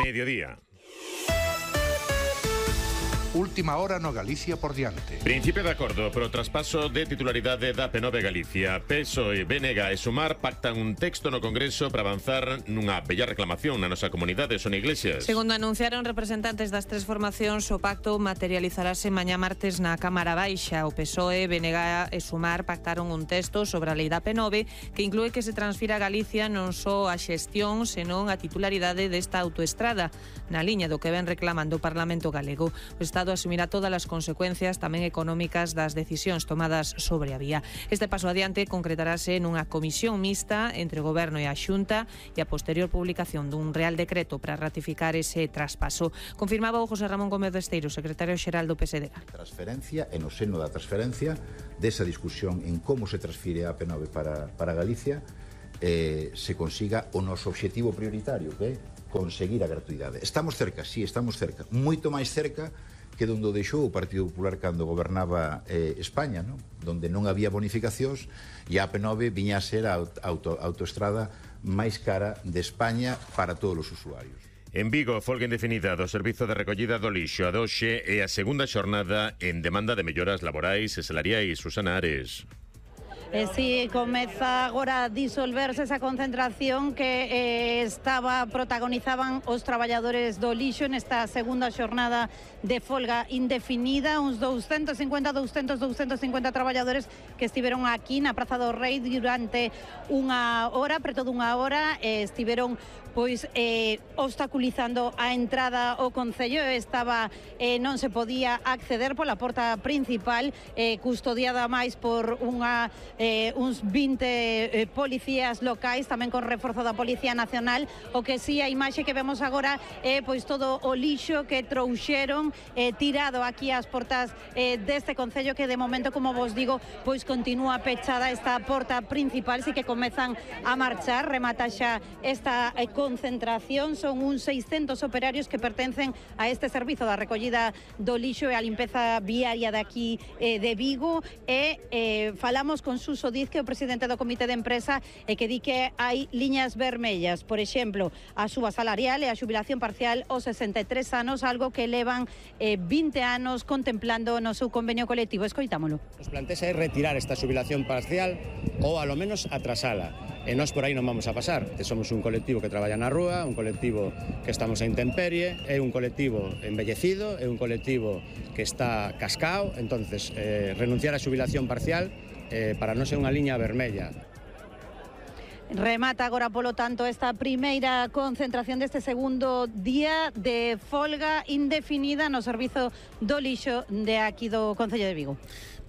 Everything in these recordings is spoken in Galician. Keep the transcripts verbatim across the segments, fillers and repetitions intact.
mediodía. Última hora no Galicia por diante. Principio de acordo pro traspaso de titularidade da P nove Galicia. P S O E, B N G e Sumar pactan un texto no Congreso para avanzar nunha bella reclamación na nosa comunidade. Son Iglesias. Segundo anunciaron representantes das tres formacións, o pacto materializarase mañá martes na Cámara Baixa. O P S O E, B N G e Sumar pactaron un texto sobre a lei da P nove que inclúe que se transfira a Galicia non só a xestión, senón a titularidade desta autoestrada, na liña do que ven reclamando o Parlamento galego. O Estado asumirá todas as consecuencias tamén económicas das decisións tomadas sobre a vía. Este paso adiante concretarase nunha comisión mixta entre o Goberno e a Xunta e a posterior publicación dun Real Decreto para ratificar ese traspaso. Confirmaba o José Ramón Gómez Besteiro, secretario xeral do P S D G. Transferencia, e no seno da transferencia, desa discusión en como se transfire a P nove para, para Galicia, eh, se consiga o noso obxectivo prioritario, que é conseguir a gratuidade. Estamos cerca, sí, estamos cerca. Moito máis cerca que donde o deixou o Partido Popular cando gobernaba eh, España, ¿no? Donde non había bonificacións e a P nove viña a ser a auto, autoestrada máis cara de España para todos os usuarios. En Vigo, folga indefinida do Servizo de Recollida do Lixo. A doxe é a segunda xornada en demanda de melloras laborais e salariais. Susana Ares. E si comeza agora a disolverse esa concentración que eh, estaba protagonizaban os traballadores do lixo nesta segunda xornada de folga indefinida, uns doscientos cincuenta, doscientos, doscientos cincuenta traballadores que estiveron aquí na Praza do Rei durante unha hora, preto dunha hora, eh, estiveron pois eh, obstaculizando a entrada ao Concello. Estaba eh, non se podía acceder pola porta principal, eh, custodiada máis por unha eh, uns vinte eh, policías locais, tamén con reforzo da Policía Nacional. O que si, sí, a imaxe que vemos agora é eh, pois todo o lixo que trouxeron eh, tirado aquí ás portas eh, deste Concello, que de momento, como vos digo, pois continúa pechada esta porta principal. Si que comezan a marchar, remata xa esta eh, concentración. Son uns seiscentos operarios que pertencen a este servizo da recollida do lixo e a limpeza viaria de aquí eh, de Vigo. E eh, falamos con Suso Diz, que é o presidente do comité de empresa, e que di que hai liñas vermellas, por exemplo, a suba salarial e a xubilación parcial aos sesenta e tres anos, algo que levan eh, vinte anos contemplando no seu convenio colectivo. Escoitámolo. Nos plantexa é retirar esta xubilación parcial ou, alo menos, atrasala. E nós por aí non vamos a pasar. Somos un colectivo que traballa na rúa, un colectivo que estamos a intemperie, é un colectivo embellecido, é un colectivo que está cascao. Entonces, eh, renunciar á xubilación parcial eh, para non ser unha liña vermella. Remata agora, polo tanto, esta primeira concentración deste segundo día de folga indefinida no servizo do lixo de aquí do Concello de Vigo.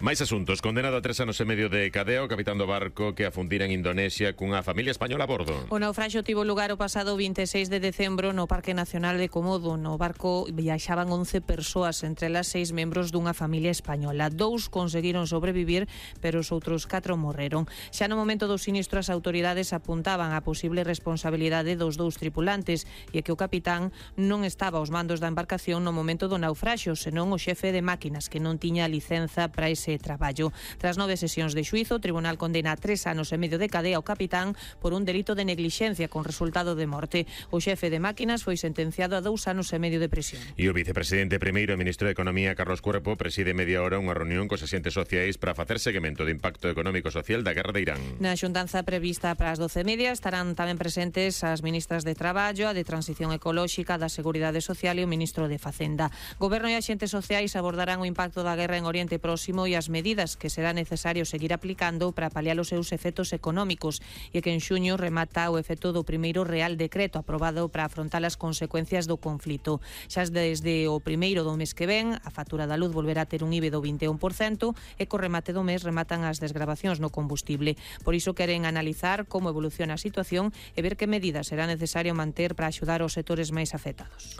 Máis asuntos. Condenado a tres anos e medio de cadea o capitán do barco que afundira en Indonesia cunha familia española a bordo. O naufraxio tivo lugar o pasado vinte e seis de decembro no Parque Nacional de Komodo. No barco viaxaban once persoas, entre elas seis membros dunha familia española. Dous conseguiron sobrevivir, pero os outros catro morreron. Xa no momento do sinistro, as autoridades apuntaban a posible responsabilidade dos dous tripulantes, e que o capitán non estaba aos mandos da embarcación no momento do naufraxio, senón o xefe de máquinas, que non tiña licenza para ese traballo. Tras nove sesións de xuízo, o tribunal condena a tres anos e medio de cadea ao capitán por un delito de neglixencia con resultado de morte. O xefe de máquinas foi sentenciado a dous anos e medio de prisión. E o vicepresidente primeiro e ministro de Economía, Carlos Cuerpo, preside media hora unha reunión cos axentes sociais para facer seguimento do impacto económico e social da guerra de Irán. Na xuntanza prevista para as doce e media estarán tamén presentes as ministras de Traballo, a de Transición Ecolóxica, da Seguridade Social e o ministro de Facenda. Goberno e axentes sociais abordarán o impacto da guerra en Oriente Próximo e as medidas que será necesario seguir aplicando para paliar os seus efectos económicos, e que en xuño remata o efecto do primeiro Real Decreto aprobado para afrontar as consecuencias do conflito. Xa desde o primeiro do mes que ven, a factura da luz volverá a ter un I V A do vinte e un por cento e co remate do mes rematan as desgravacións no combustible. Por iso queren analizar como evoluciona a situación e ver que medidas será necesario manter para axudar os sectores máis afectados.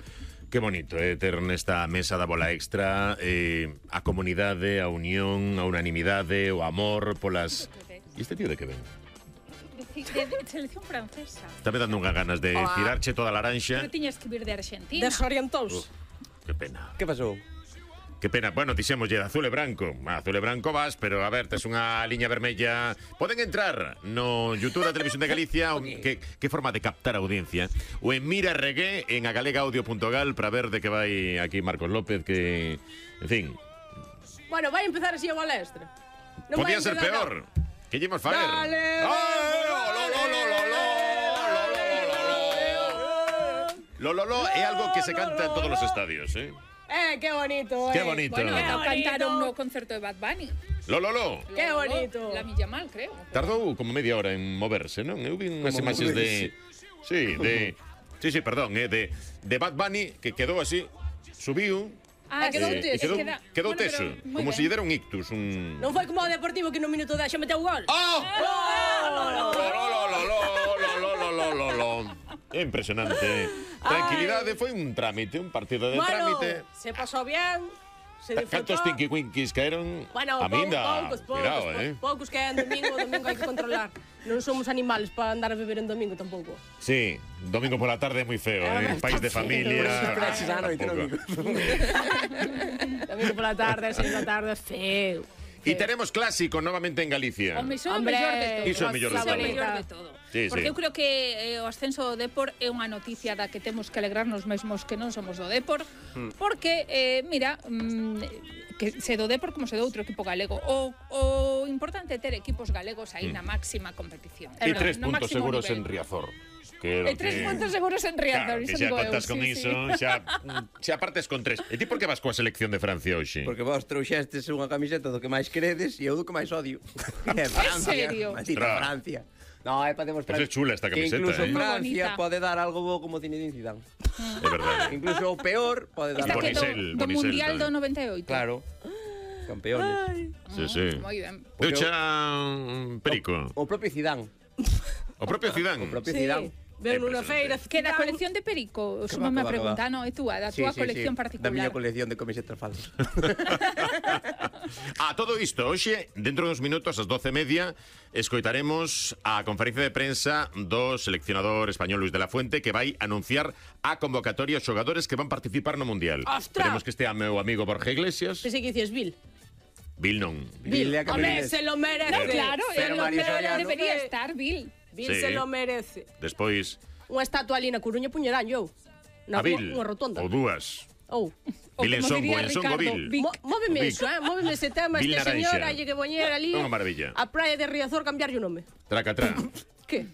Que bonito, eh, ter nesta mesa da bola extra eh, a comunidade, a unión, a unanimidade, o amor polas... E este tío de que ven? De, de selección francesa. Está me dando unhas ganas de oh. tirarche toda a laranxa. Pero tiñas que vir de Argentina. Desorientouse. Uh, que pena. Que pasou? Que pena, bueno, dixémoslle de azul e branco. Azul e branco vas, pero a ver, tes unha liña vermella. Poden entrar no YouTube da Televisión de Galicia, o, que, que forma de captar a audiencia, ou en Mira Regué, en agalegaudio punto gal, para ver de que vai aquí Marcos López, que, en fin... Bueno, vai empezar así a balestra. Non Podía vai ser empezar peor. Que lle imos faer? Dale, ¡Oh, lo, lo, lo, lo, lo, lo, lo, lo, lo, é algo que se canta en todos os estadios, eh? Eh, qué bonito, eh. Qué bonito. Bueno, Qué no bonito. cantaron no concerto de Bad Bunny. Lo, lo, lo. Qué bonito. La Milla Mal, creo. Tardou como media hora en moverse, non? Eu vi unhas imaxes de... Sí, de... Sí, sí, perdón, eh, de, de Bad Bunny, que quedou así, subiu... Ah, quedou eh, teso. e quedou, Queda- quedou bueno, teso, pero moi como ben. se lle dera un ictus, un... Non foi como o Deportivo que no minuto dez xa meteu o gol. ¡Oh! Lo, lo, lo, lo, lo, lo, lo, lo, lo, lo. É impresionante. Tranquilidade, foi un trámite, un partido de Bueno, trámite. se pasou bien, se disfrutó. Cantos tinky winkies caeron? Bueno, a pou- minda. poucos, poucos, Cuidado, poucos, eh. poucos que é en domingo, domingo hai que controlar. Non somos animales para andar a beber en domingo tampouco. Sí, domingo pola tarde é moi feo, eh. País de familia. Tampouco. Domingo pola tarde, seis da tarde, feo. E teremos clásico novamente en Galicia. O iso é o Hombre, mellor de todo. iso é o mellor de Iso é o todo. mellor de todo. Sí, Porque sí. eu creo que eh, o ascenso do Depor é unha noticia da que temos que alegrarnos mesmos que non somos do Depor, Hmm. porque, eh, mira, mm, que se do Depor como se do outro equipo galego. O, o importante é ter equipos galegos aí na máxima competición. E No- tres no puntos máximo seguros nivel. en Riazor. Que é o E tres que- puntos seguros en Claro, Riazor. que iso xa digo eu, contas con sí, iso, sí. xa, xa partes con tres. E ti por que vas coa selección de Francia hoxe? Porque vos trouxestes unha camiseta do que máis credes e eu do que máis odio. É Francia, serio? maldita Ostras. Francia. No, é para demostrar Pues é chula esta que camiseta, incluso eh. Francia Moi bonita. pode dar algo bo como Zinedine Zidane. É verdade. Incluso o peor pode dar Esta algo que do, Bonisel, do Bonisel Mundial do tamén. noventa e oito. Claro. Campeones. Sí, sí. Moi ben. Deu xa un perico. O propio Zidane. O propio Zidane. O propio Sí, Zidane. ven unha feira. Que da colección de Perico, Que suma va, me que va, que pregunta, va. no, é túa, da Sí, túa sí, colección sí. particular. Da miña colección de camisetas falsas. A todo isto, hoxe, dentro dos minutos, ás doce e media, escoitaremos a conferencia de prensa do seleccionador español Luis de la Fuente, que vai anunciar a convocatoria aos xogadores que van participar no Mundial. Ostras! Esperemos que estea meu amigo Borja Iglesias. Pensei que dicías Bill. Bill non. Bill, Bill, a home, Capriles. se lo merece. No, claro, Pero é lo Mario que Soriano. debería estar, Bill. Bill Sí. se lo merece. Despois, Unha estatua ali na Coruña puñerán yo. Na a rúa- Bill. Unha rotonda. Ou dúas. Ou. O Bill en como Songo, diría en Songo Ricardo, Bill. Vic. Mo- Móveme Vic. iso, eh? Móveme ese tema, Bill este Naranja. señor, hai que poñer ali Unha maravilla. a praia de Riazor cambiarlle o nome. Traca, tra. Que?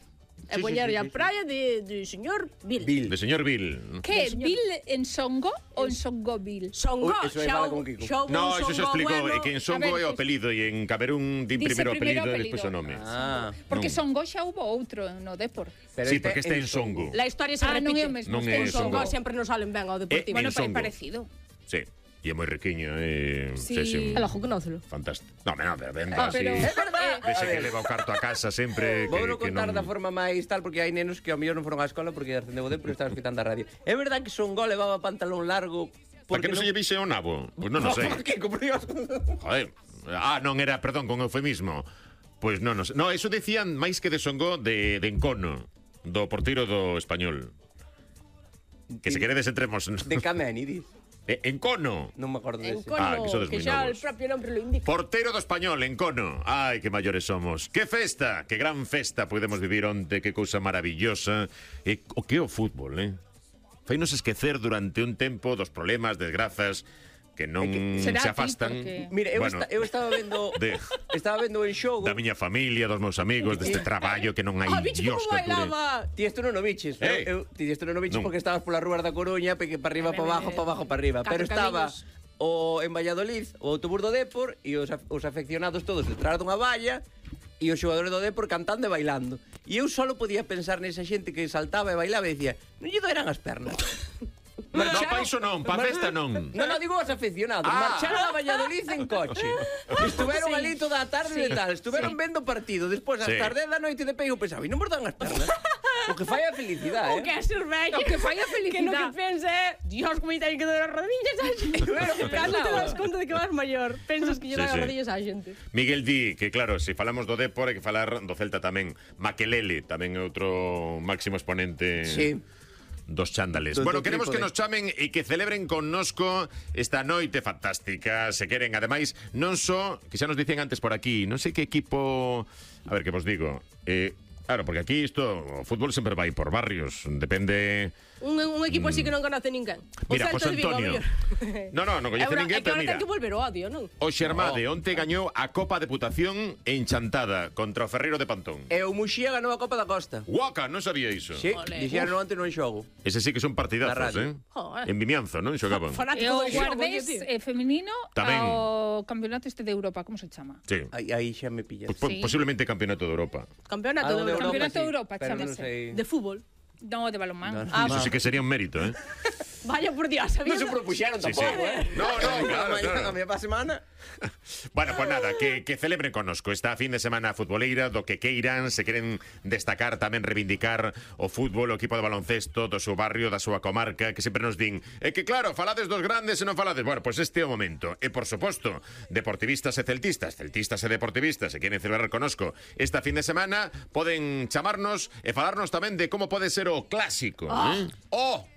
E Sí, sí, poñerlle sí, a sí, sí. praia de, de señor Bill. Bill. De señor Bill. Que, Bill en Songo ou en Songo Bill? Songo, Ui, eso aí xa fala o- con Kiko. xa houve No, un eso se Songo explicou, bueno. é que en Songo A ver, é o pues- apelido e en Camerún din Dice primeiro o apelido primeiro e despois o apelido. nome. Ah. Porque Non. Songo xa hubo outro no Depor. Pero Sí, porque este é en Songo. La historia se Ah, non repite. é o mesmo. Non este é Os Songo. Songo sempre nos salen ben ao Eh, Deportivo. Bueno, en pa- Songo. parecido. Sí, e é moi riquiño, é Sí. sí, sí, un- El ojo, conócelo. fantástico. No, no, pero ben Ah, así. pero- Dese A que ver. leva o carto a casa sempre que, Vou que contar non... da forma máis tal porque hai nenos que ao mellor non foron á escola porque ascendeu o Depor e estaban escutando a radio. É verdad que Songo levaba pantalón largo Por que non se lle vise o nabo? Pois non o sei. Que por Dios. Joder. Ah, non era, perdón, con eufemismo. Pois non, non sei. No, eso decían máis que de Songo de, de Encono, do porteiro do Español. Que se queredes entremos... De Cameni, dis. Eh, Encono. Non me acordo En dese. Cono, Ah, que sodes que moi xa el novos. propio nombre lo indica. Portero do Español, Encono. Ai, que maiores somos. Que festa, que gran festa podemos vivir onte, que cousa maravillosa. E o que é o fútbol, eh? Fainos esquecer durante un tempo dos problemas, desgrazas, que non será se a ti, afastan. porque- Mira, eu, Bueno, esta, eu estaba vendo de- estaba vendo en xogo. da miña familia, dos meus amigos, deste traballo que non hai Ah, bicho, Dios como que apure. bailaba. Ti isto non o biches, Eh. eu, eu, ti isto non o biches Non. porque estabas polas rúas da Coruña, peque para arriba, para abajo, para abajo, para arriba, Catro pero estaba camiños. o en Valladolid, o autobús do Depor e os, af- os afeccionados todos detrás dunha valla e os xogadores do Depor cantando e bailando. E eu solo podía pensar nesa xente que saltaba e bailaba e dicía, non lle doeran as pernas. No, pa iso non, pa festa non. Non, non, digo os aficionados. Ah. Marcharon a Valladolid en coche. Estuveron ali toda a tarde e tal. Estuveron vendo partido. Despois, ás Sí. tarde da noite de peigo, pensaba, e non vos dan as pernas? O que fai a felicidade, O que é cerveja. O que fai a Que no que felicidad. pensa é, Dios, como ten que dar as rodillas á xente. Claro, que Cando te pensaba. das conta de que vas maior, pensas que lle Sí, dan as sí. rodillas á xente. Miguel di que, claro, se falamos do Depor hai que falar do Celta tamén. Maquelele tamén é outro máximo exponente Sí. dos chándales. Do- Bueno, do queremos que trípode. nos chamen e que celebren connosco esta noite fantástica. Se queren, ademais, non só, que xa nos dicen antes por aquí, non sei que equipo... A ver, que vos digo... Eh, claro, porque aquí isto, o fútbol sempre vai por barrios, depende... Un, un equipo así que non conoce ninguén. O Mira, Celta José de Vigo, Antonio. a mellor. No, no, non coñece É una- ninguén, é que pero ahora mira... ten que volver o odio, non? O Xermade onte gañou a Copa Deputación enchantada contra o Ferreiro de Pantón. E o Muxía ganou a Copa da Costa. Guaca, non sabía iso. Sí, Ole. dixeron onte no xogo. Ese sí que son Na partidazos, radio. eh? Joder. En Vimianzo, non? Xogaban. E Fanático o do xogo, guardés tío. eh, femenino Tamén. ao campeonato este de Europa, como se chama? Sí. Aí, aí xa me pillas. Pues, po- Sí. Posiblemente campeonato de Europa. Campeonato Algo de de Europa. Campeonato de Europa, pero non chámase. sei. De fútbol. No, de balonmán. No, no. Ah, Eso sí que sería un mérito, eh? Vaya por Dios, Non sabía. se propuxeron Sí, tampouco, sí. eh? No, no, claro, Mañá, claro. A miña pa semana. Bueno, pues nada, que, que celebren connosco esta fin de semana futboleira, do que queiran, se queren destacar, tamén reivindicar o fútbol, o equipo de baloncesto do seu barrio, da súa comarca, que sempre nos din, é que claro, falades dos grandes e non falades. Bueno, pues este é o momento. E por suposto, deportivistas e celtistas, celtistas e deportivistas, se queren celebrar connosco esta fin de semana, poden chamarnos e falarnos tamén de como pode ser o clásico, eh? Oh,